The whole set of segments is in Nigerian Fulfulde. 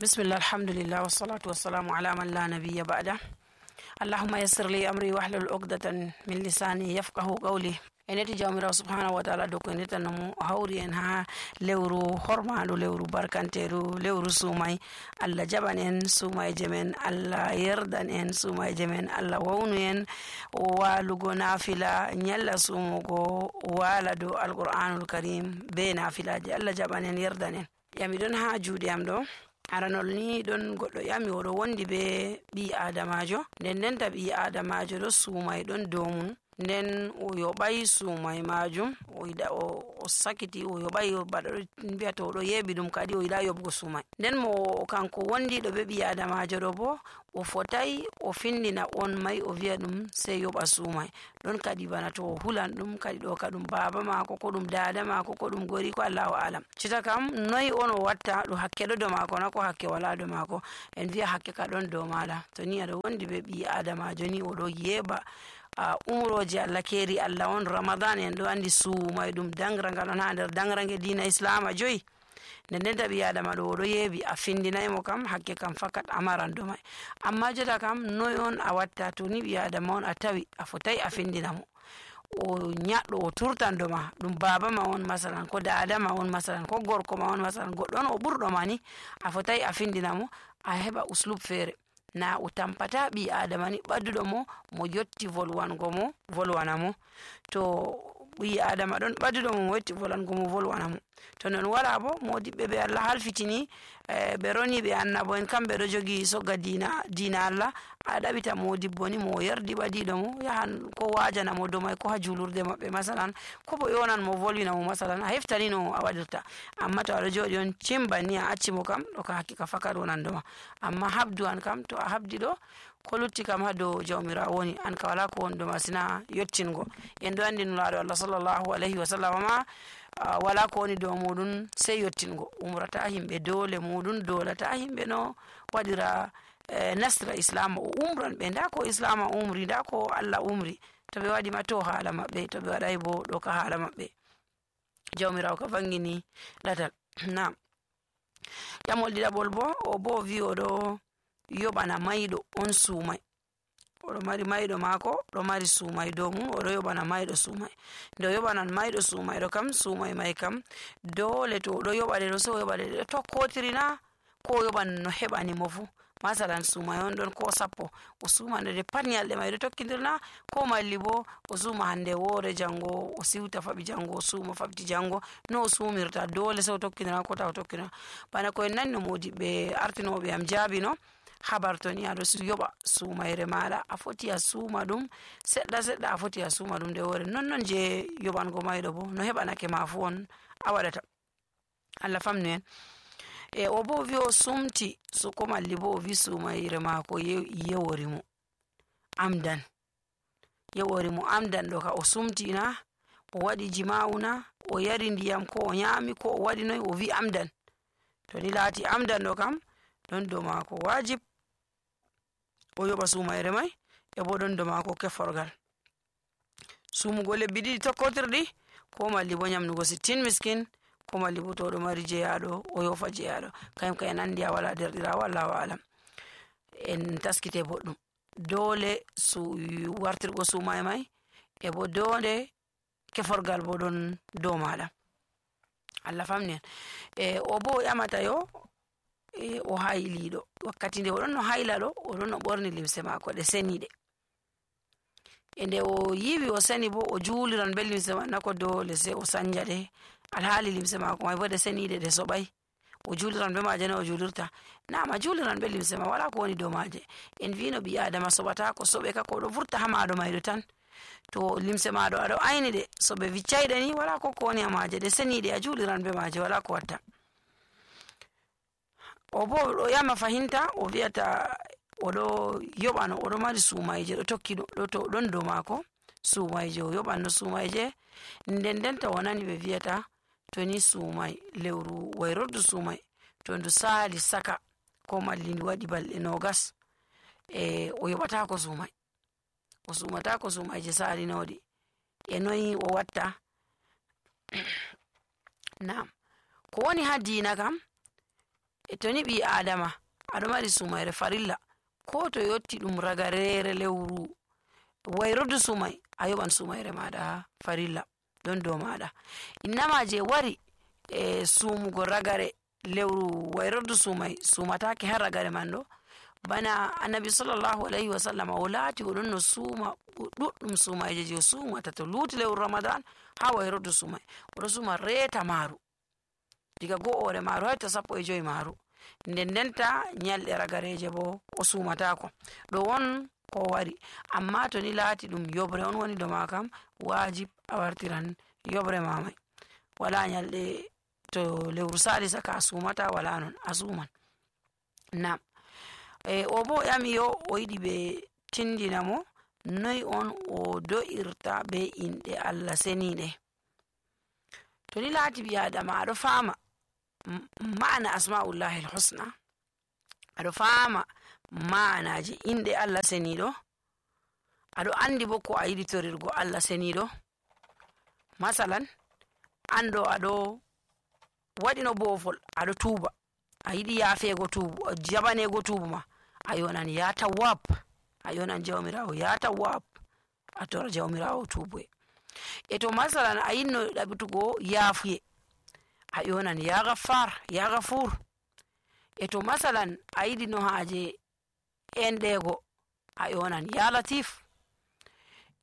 bismillah alhamdulillah wassalatu wassalamu ala man la nabiyya ba'da. Allahumma yassir li amri wahlul uqdatan min lisani yafqahu qawli. Eneti jawmirawo subhanahu wa ta'ala doko eneta namu hawri en ha lewru hormaɗo, lewru barkanteru, lewru sumay. Allah jaɓan en sumayje men, Allah yerdan en sumayje men, Allah wawnu en walugo nafila nyalla sumugo wala do alqur'anul karim be nafilaje. Allah jaɓan en yerdan en. Yami don ha juuɗe am ɗo aranol ni ɗon goɗɗo yami oɗo wondi be ɓi adamajo, nden ndenta ɓi adamajo ɗo sumay ɗon dow mum, nden o yoɓay sumay majum, o sakiti o yoɓay baɗo mbiyata oɗo yeɓi ɗum kadi o yiɗa yoɓgo sumay. Nden mo kanko wondiɗo be ɓi adamajo ɗo bo o fotay o findina on may o wiya ɗum sey yoɓa sumay. Ɗon kadi bana to o hulan ɗum kadi ɗo ka ɗum baba mako ko ɗum dada mako ko ɗum gori ko Allahu alam. Cita kam noy on o watta, ɗo hakke ɗo dow mako na ko hakke wala dow mako? En wiya hakke ka ɗon dow maɗa. To ni aɗo wondi be ɓi adamajo ni oɗo yeɓa umroji Allah keri Allah on ramadan en ɗo andi sumay ɗum dangrangal on ha nder dangrange dina islama joyi. Nden taɓi adama ɗo oɗo yeɓi a findinaymo kam hakke kam fakat amaran do may. Amma jota kam noy on a watta? To ni ɓi adama on a tawi a fotai a findinamo, o nyaɗɗo o turtan do ma, ɗum baba ma on masalan, ko dada ma on masalan, ko gorko ma on masalan, goɗɗo on o ɓurɗo ma ni a fotai a findinamo, a heɓa uslub feere. Na o tampata ɓi adama ni ɓadduɗo mo yotti volwango mo volwanamo. To ɓi adama ɗon ɓadduɗo mo yotti volwango mo volwanamo. To non wala bo modiɓɓe ɓe Allah halfitini ɓe roni ɓe annabo en kamɓe ɗo jogi sogga dina Allah. A ɗaɓita modibbo ni mo yerdi ɓadiɗo mo yahan ko wajana mo domay ko ha julurde maɓɓe masalan, ko bo yonan mo volwina mo masalan, a heftani no a waɗirta. Amma to aɗo joɗi on cimba ni a acci mo kam ɗo ka hakkika fakat wonan doma. Amma habdu an kam to a habdi ɗo ko lutti kam ha dow jawmirawo woni, an ka wala ko woni doma sina yottingo. En ɗo andi nulaɗo Allah sallallahu alayhi wa sallam ma wala ko woni dow muɗum sey yottingo. Umrata himɓe dole muɗum, dolata himɓe no waɗira nasra islam o umran ɓe, nda ko islam umri, nda ko Allah umri. To ɓe waɗi ma to haala maɓɓe, to ɓe waɗay bo ɗo ka haala maɓɓe. Jawmirawo ka vangini ɗatal. Nam ƴamol ɗiɗaɓol bo o bo wi oɗo yoɓana mayɗo on sumay. Oɗo mari mayɗo mako ɗo mari sumay dow mum, oɗo yoɓana mayɗo sumay. Nde o yoɓanan mayɗo sumayɗo kam sumay may kam dole to oɗo yoɓaɗe ɗo so o yoɓaɗe ɗo tokkotirina ko o yoɓan no heɓani mo fu. Masalan sumay on ɗon ko 10 o sumande de pat nyalɗe may ɗo tokkidirna, ko malli bo o suma hande woore jango o siwta faɓi jango o suma faɓti jango, no o sumirta dole so o tokkidira ko ta o tokkidira. Bana ko en nanno modiɓɓe artinoɓe am jaabi no habar to ni aɗo yoɓa sumayre maɗa a foti a suma ɗum seɗɗa seɗɗa, a foti a suma ɗum nde woore. Non je yoɓango mayɗo bo no heɓanake ma fu on a waɗata. Allah famnu en. O bo wi o sumti ko malli bo o wi sumayre mako yewori mo amdan, yewori mo amdan ɗo ka o sumtina, o waɗi jima'una, o yari ndiyam ko o nyami ko o waɗi noy, o wi amdan. To ni laati amdan ɗo kam ɗon dow mako wajib o yoɓa sumayre may, e bo ɗon dow mako keforgal sumugo lebbi ɗiɗi tokkotirɗi, ko malli bo nyamnugo 60 miskin, ko malli bo to ɗo mari jeyaɗo o yofa jeyaɗo. Kayum ka en andi a wala derɗirawo Allahu alam. En taskite boɗɗum dole wartirgo sumay may, e bo dole keforgal bo ɗon dow maɗa. Allah famni en. O bo o ƴamata yo o hayliɗo wakkati nde oɗon no hayla ɗo oɗon no ɓorni limse mako ɗe seniɗe. E nde o yiwi o seni bo o juliran be limse man nako dole sai o sanja ɗe, alhaali limse mako may bo ɗe seniɗe ɗe soɓay. O juliran be maje ne o julirta? Nama juliran be limse ma, wala ko woni dow maje. En vino ɓi adama soɓata ko soɓe ka ko ɗo vurta ha maɗo mayɗo tan. To limse maɗo aɗo ayni ɗe so ɓe viccayɗe ni wala ko woni ha maje, ɗe seniɗe a juliran be maje, wala ko watta. O bo o yama fahinta o wiyata oɗo yoɓano oɗo mari sumayje ɗo tokki ɗon dow mako sumayje, o yoɓanno sumayje. Nden ta wonani ɓe wiyata to ni sumay lewru wayrordu sumay to ndu sali saka ko malli ndu waɗi balɗe 20 o yoɓatako sumay, o sumatako sumayje salinoɗi. E noyi o watta? Nam ko woni ha dina kam to ni ɓi adama aɗo mari sumayre farilla ko to yotti ɗum ragarere lewru wayrudu sumay a yoɓan sumayre maɗa farilla ɗon dow maɗa. innama je wari sumugo ragare lewru wayrudu sumay sumatake har ragare man ɗo bana annabi sallallahu alaihi wasallam o laati oɗon no suma ɗuɗɗum sumayje je sumata to luti lewru ramadan ha wayrudu sumay oɗo suma reeta maru diga go'ore maru hay to 15 maru ndendenta nyalɗe ragareje bo o sumatako ɗo won ko wari. amma to ni laati ɗum yobre on woni do ma kam wajib a wartiran yobre mamai wala nyalɗe to lewru salisa ka sumata wala non a suman. nam o bo yami yo o yiɗi ɓe tindina mo noy on o do'irta be inɗe Allah seniɗe. to ni laati ɓi adama aɗo fama ma'ana asma'ullahi alhusna aɗo fama ma'anaji inɗe Allah seniɗo aɗo andi bo ko a yiɗi torirgo Allah seniɗo. masalan ando aɗo waɗino bofol aɗo tuuba a yiɗi yafego tuubu jabanego tuubu ma a yonan ya tawwab a yonan jawmirawo ya tawwab a tora jawmirawo tuubuye. e to masalan a yinno ɗaɓitugo yafuye a yonan ya gaffar ya gafur. e to masalan a yiɗi no haje enɗego a yonan ya latif.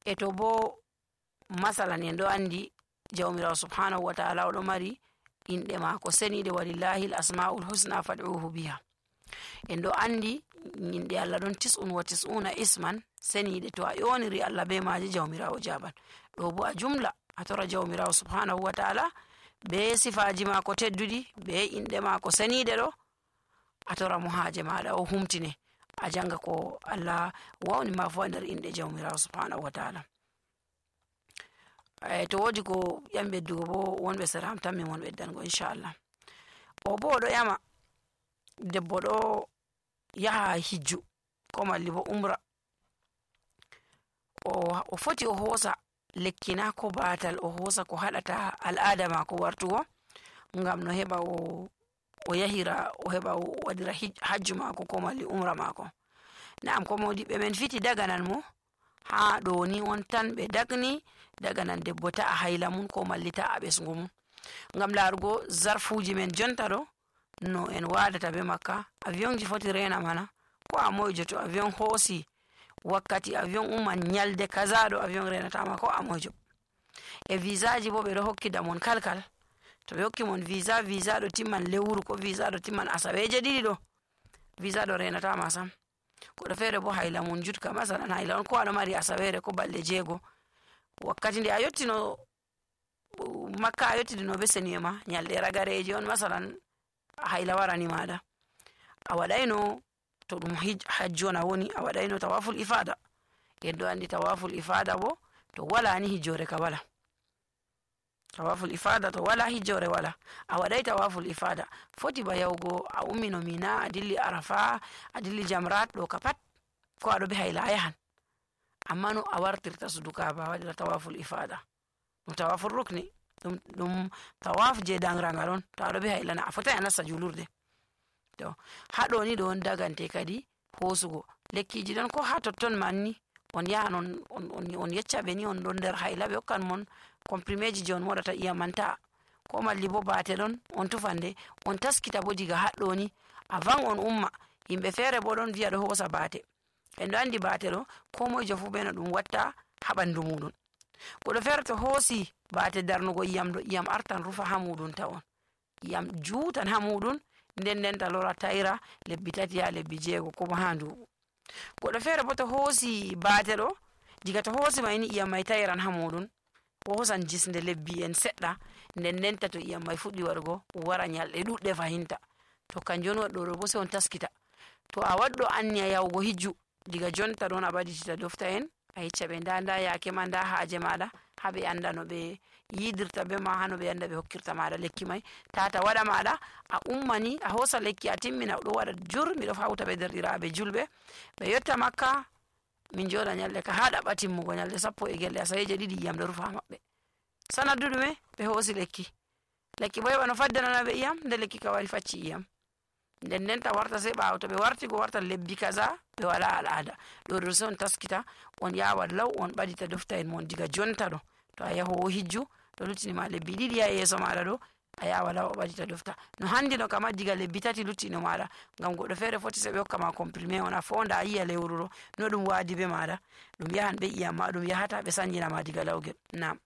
e to bo masalan en ɗo andi jawmirawo subhanahu wa ta'ala oɗo mari inɗe mako seniɗe walillahi l asma'ul husna fad'uhu biha. en ɗo andi inɗe Allah ɗon 99 isman seniɗe to a yoniri Allah be maje jawmirawo jaban. ɗo bo a jumla a tora jawmirawo subhanahu wa ta'ala be sifaji mako tedduɗi be inɗe mako seniɗe ɗo a tora mo haje maɗa o humtine a janga ko Allah wawni ma fu nder inɗe jawmirawo subhanahu wa ta'ala. to wodi ko yam beddugo bo wonɓe sera am tan min won beddango inchallah. o bo oɗo yama debbo ɗo yaha hijju ko malli bo umra o foti o hosa lekkina ko batal o hosa ko haɗata al'ada mako wartugo ngam no heɓa o yahira o heɓa o waɗira hajju mako ko malli umra mako. na'am ko modiɓɓe men fiti daganan mo ha ɗo ni on tan ɓe dagni daganan debbo ta'a hayla mun ko malli ta'a ɓesgu mun ngam larugo zarfuji men jonta ɗo no en wadata be makka. avion ji foti rena mana ko a moyjo to avion hosi wakkati avion umman nyalde kaza ɗo avion renatama ko a moyjo. e visa ji bo ɓe ɗo hokkida mon kalkal to ɓe hokki mon visa ɗo timman lewru ko visa ɗo timman asaweje ɗiɗi ɗo visa ɗo renatama sam. koɗo fere bo hayla mun jutka masalan hayla on ko aɗo mari asawere ko balɗe 6 wakkati nde a yottino makka a yottidino be seniye ma nyalɗe ragareji on masalan hayla warani maɗa a waɗayno to ɗum hajju on a woni a waɗayno tawaful ifada. en ɗo andi tawaful ifada bo to wala ni hijjore ka wala. tawaful ifada to wala hijjore wala. a waɗay tawaful ifada foti ba yahugo a ummino mina a dilli arafa a dilli jamrat ɗo ka pat ko aɗo be hayla a yahan. amma no a wartirta suduka ba waɗira tawaful ifada ɗum tawaful rukni ɗum tawaf je dangragal on to aɗo be haylana a fotai a nasta julurde. to haɗo ni ɗo on dagante kadi hosugo lekkiji ɗon ko ha totton manni on yahan on yeccaɓe ni on ɗon nder hayla ɓe hokkan mon comprimeji je on moɗata iyam man ta'a ko malli bo bate ɗon on tufande on taskita bo diga haɗɗo ni a van on umma. yimɓe fere bo ɗon wiya ɗo hosa bate en ɗo andi bate ɗo ko moyjo fu be no ɗum watta ha ɓandu muɗum. goɗɗo fere to hoosi bate darnugo iyam ɗo iyam artan rufa ha muɗum ta on iyam juutan ha muɗum ndendenta lora tayra lebbi 3 ha lebbi 6 ko ha nduɓu. goɗɗo fere bo to hoosi bate ɗo diga to hoosi mayni iyam mai tayran ha muɗum o hosan jisde lebbi en seɗɗa ndendenta to iyam mai fuɗɗi waɗugo wara nyalɗe ɗuɗɗe fahinta to kanjum on waɗɗo ɗo bo sai on taskita. to a waɗɗo anniya yahugo hijju diga jonta ɗon a ɓaditita dofta en a yecca ɓe nda yake ma nda haaje maɗa ha ɓe anda no ɓe yidirta be ma hano ɓe anda ɓe hokkirta maɗa lekki mai tata waɗa maɗa a ummani a hosa lekki a timmina ɗo waɗa jur miɗo hawta ɓe derɗiraɓe julɓe ɓe yotta makka min joɗa nyalde ka ha ɗaɓɓa timmugo nyalde 10 asaweje 2 iyam ɗo rufa maɓɓe sanaddu ɗume ɓe hosi lekki bo heɓa no faddanana ɓe iyam nde lekki ka wari facci iyam nden ndenta warta sai ɓawo to ɓe warti go warta lebbi kaza ɓe wala al'ada ɗo sai on taskita on yawa law on ɓadita dofta en mon diga jonta ɗo to a yahowo hijju to luttini ma lebbi ɗiɗi ha yeso maɗa ɗo a yawa law a ɓadita dofta no handi no kama diga lebbi tati luttino maɗa ngam goɗɗo feere foti sai ɓe hokkama comprimé on a fonda a yiya lewru ɗo no ɗum wadi be maɗa ɗum yahan be iyam ma ɗum yahata ɓe sanjinama diga lawgel. Nam.